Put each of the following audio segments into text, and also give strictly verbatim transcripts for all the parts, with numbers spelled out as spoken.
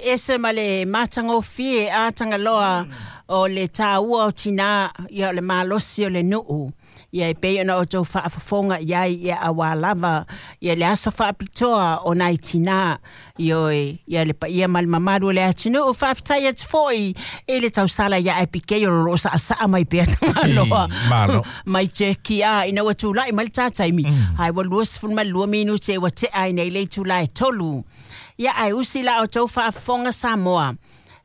ese ma le matagofie a Tagaloa o le tāua o tinā, ia o le malosi o le nuu. Ia e pei ona outou faafofoga i ai ia auā lava ia le aso faapitoa o nai tinā. Ioe, ia le paia ma le mamalu o le atunuu, faafetai atu foi i le tausala ia Abigail o loo saasaa mai pea Tagaloa. Malo. Mai Turkey a ina ua tulai mai le tā taimi. Ae ua luasefulu ma le lua minute ua tea ai nei le itulā e tolu. Ia ae usi la outou faafofoga Samoa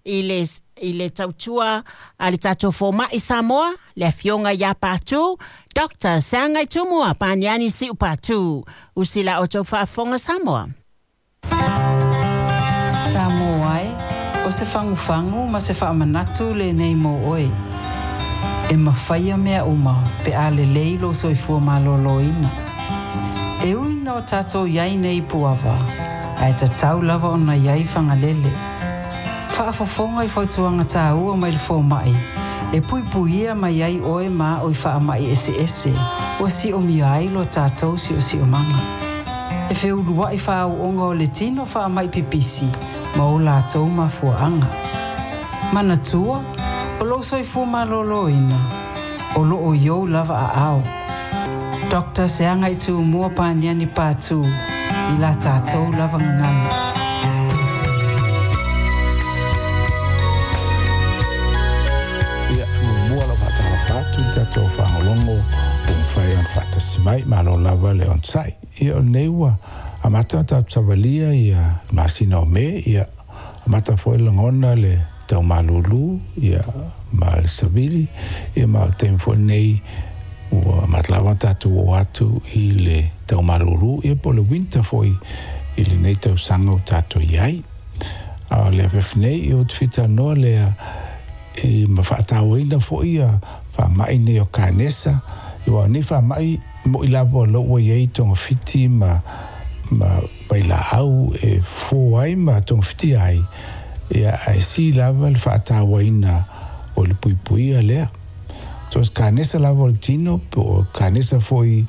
i le i le tautua a le tatou fomaʻi Samoa, le afioga iā Patu, Doctor Seagaitumua Paniani Siu Patu. Usi la outou faafofoga Samoa. Samoa e, o se fagufagu ma se faamanatu lenei mo oe. E mafaia mea uma pe a lelei lou soifua malōlōina. E ui na o tatou iai nei puava, ae tatau lava ona iai fagalele. Faafofoga i fautuaga tāua mai le fomaʻi, e puipuia mai ai oe ma o i faamaʻi eseese, ua siomia ai lo tatou siosiomaga. E feuluaʻi fāuʻoga o le tino faamaʻi pipisi ma o latou mafuaaga. Manatua, o lou soifua malōlōina, o loo i ou lava aao. Doctor Seagaitumua Paniani Patu, i la tatou lava gagana. Ia, muamua lau faatalofa atu i tatou fagologo ua mafai ona faatasi mai, malo lava le onosai. Ia, o lenei ua amata ona tatou savalia ia le masina o Me, ia amata foi lagona le taumalūlū, ia ma le savili, ia ma o le taimi foi lenei ua amata lava ona tatou oo atu i le taumalūlū, ia po o le winter foi i lenei tausaga ua tatou iai. A o le afiafi nei, ia ua tafitanoa lea e ma faatauaina foi ia faamaʻi nei o kanesa. Ia ua nei faamaʻi moʻi lava o lou ua iai togafiti ma ma vailaau e fofō ai ma togafiti ai, ia ae sili lava le faatauaina o le puipuia lea. So o se kanesa lava o le tino, po o kanesa foi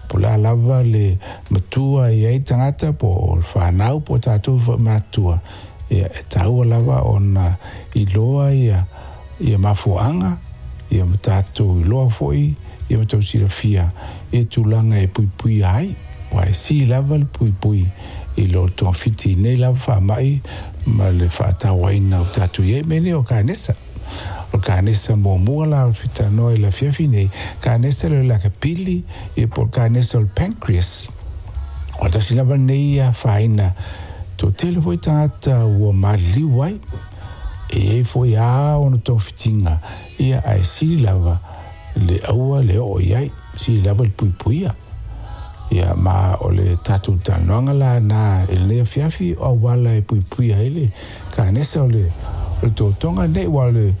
po la lava le matua i ai tagata, po o le fanau, po o tatou foi matua. Ia e taua lava ona iloa ia ia mafuaaga, ia ma tatou iloa foi, ia ma tau silafia e tulaga e puipuia ai. Ua e sili lava le puipui i lo togafiti nei lava faamaʻi ma le faatauaina o tatou iai mea nei o kanesa. O le kanesa muamua la o fitanoa i le afiafi nei, kanesa lea o le akapili, ia po o le kanesa o le pancreas. O le tasi lava lenei ia afaina toatele foi tagata ua maliliu ai. E iai foi lava ona togafitiga, ia ae sili lava le aua le oo i ai, sili lava le puipuia. Ia ma o le tatou talanoaga la na i lenei afiafi o auala e puipuia ai le kanesa o le o le totoga nei, ua o le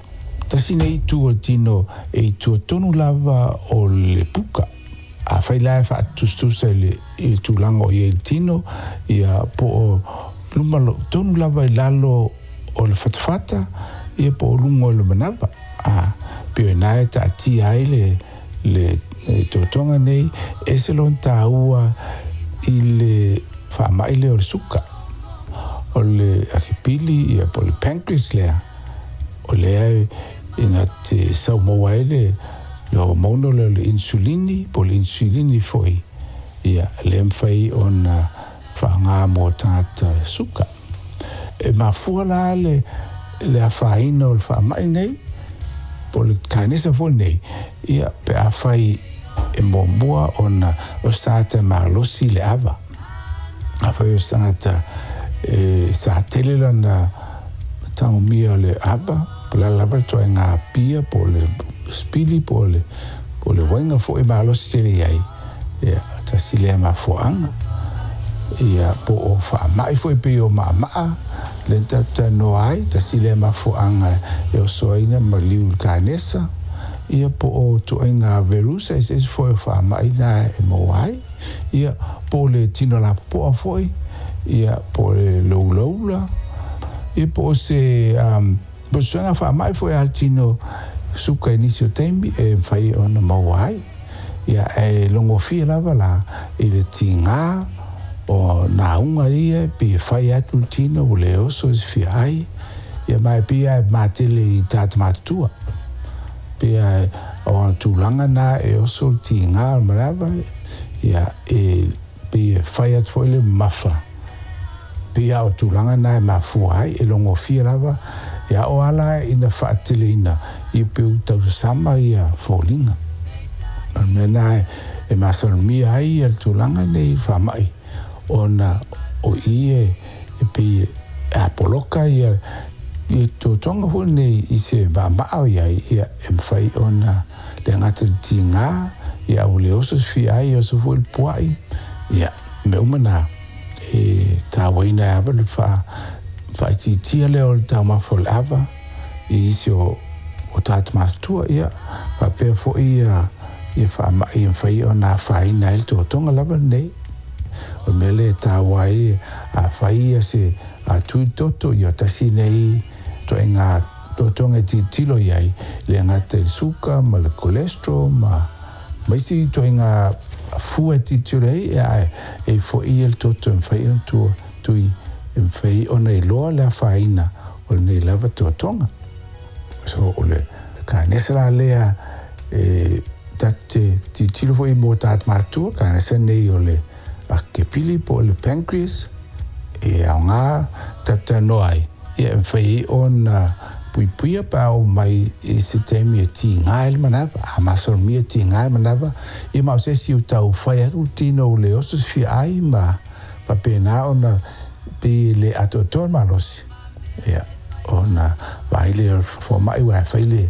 tasi nei itu o le tino e itua tonu lava o le puka. Afai la e faatusatusa i le i le tulaga o iai le tino, ia po o luma tonu lava i lalo o le fatafata, ia po o luga o le manava. A pei o iná e taatia ai le le le totoga nei, ese lona tāua i le faamaʻi lea o le suka. O le akepili, ia po o le pancreas lea, o lea ina te saumaua ai le le hormone lea o le insulini, po o le insulini foi, ia lea e mafai ona faaaogā mo tagata suka. E mafua la le le afaina o le faamaʻi nei, po o le kanesa foi nei, ia pe afai e muamua ona o se tagata e malosi le ava. Afai o se tagata e sa tele lona tagomia o le ava, po o le a lava le ituaiga pia, po o le sipili, po o le po o le uaiga foi e malosi tele i ai, ia tasi lea mafuaaga. Ia po o faamaʻi foi pei o maʻamaʻa lea na tatou talanoa ai, tasi lea mafuaaga e osoaina ma liu i le kanesa, ia po o ituaiga verusa eseese foi o faamaʻi na e maua ai, ia po o le tino lapopoa foi, ia po o le loulaula, ia po o se um, po o se suega faamaʻi foi a le tino suka i nisi o taimi e mafai ona maua ai. Ia ae logofie lava la i le tigā O nauga ia pe fai atu le tino ua le oso i se fiaai ia ma e pei lava e matele i tagata matutua pe a o ona tulaga na e oso le tigā o le manava ia e pei e fai atu foi le mamafa pei a o tulaga na e mafua ai e logofia lava ia o ala ina faateleina ia pe ua tausasama ia foliga o le mea na e masalomia ai ia le tulaga nei faama'i ona o i e e pei e apoloka ia i totoga foi nei i se maama'a o iai ia e mafai ona le gata le tigā ia ua le oso se fiai oso foi le pua'i ia mea uma na e tāuaina e ava le faa faaitiitia lea o le taumafa o le ava i isi o o tagata matutua ia faapea foi ia ia faama'i e mafai ona afaina ai le totoga lava lenei o le mea lea e tāua ai afai ia se atui toto ia tasi nei toaiga totoga e tilotilo i ai le gata i le suka ma le cholesterol ma ma isi toaiga fua e tilotilo ai ia ae e fo'i ia le toto e mafai ona tua tui e mafai ona iloa le afaina o lenei lava totoga so o le kanesa la lea e tatou te tilotilo foi mo tagata matutua kanesa nei o le akepili po o le pancreas e aogā tatou talanoa ai ia e mafai ai ona puipuia pe a oo mai i se taimi e tigā ai le manava a masalomia e tigā le manava ia ma o se isi ua tau fai atu le tino ua le oso se fiaai ma faapena ona pei e le atoatoa le malosi ia ona vaai lea o le foma'i uae fai le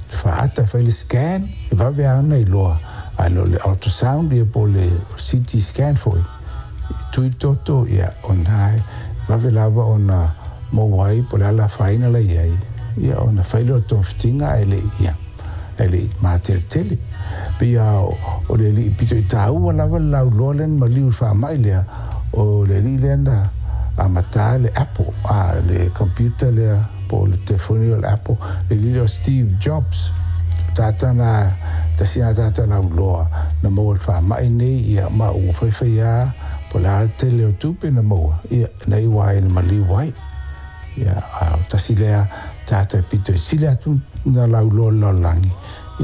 faata fai le scan e vave lava ona iloa ae le o le ultrasound ia po o le C T scan foi tui toto ia ona e vave lava ona maua ai po o le a le afaina la i ai ia ona fai lea o le togafitiga ae le'i ia ae le'i mateletele pei a o le ali'i pito i tāua lava le lauloa lea na maliu i le faama'i lea o le ali'i lea na amatā le Apple a le computer lea po o le telefoni o le Apple le alii lea o Steve Jobs tagata na tasi na tagata lauloa na maua i le faama'i nei ia ma ua faifai lava po o le a le tele o tupe na maua ia na iu ai na maliu ai ia a o tasi lea tagata e pito i sili atu na lauloa i le lalolagi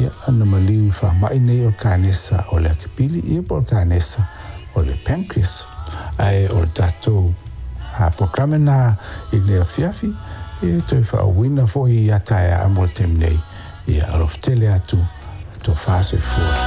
ia na maliu i le faama'i nei o le kanesa o le akepili ia po o le kanesa o le pancreas ae o le tatou polokalame na i lenei afiafi e toe faauuina foi ia taeao mo le taimi nei ia alofa tele atu tofa soifua.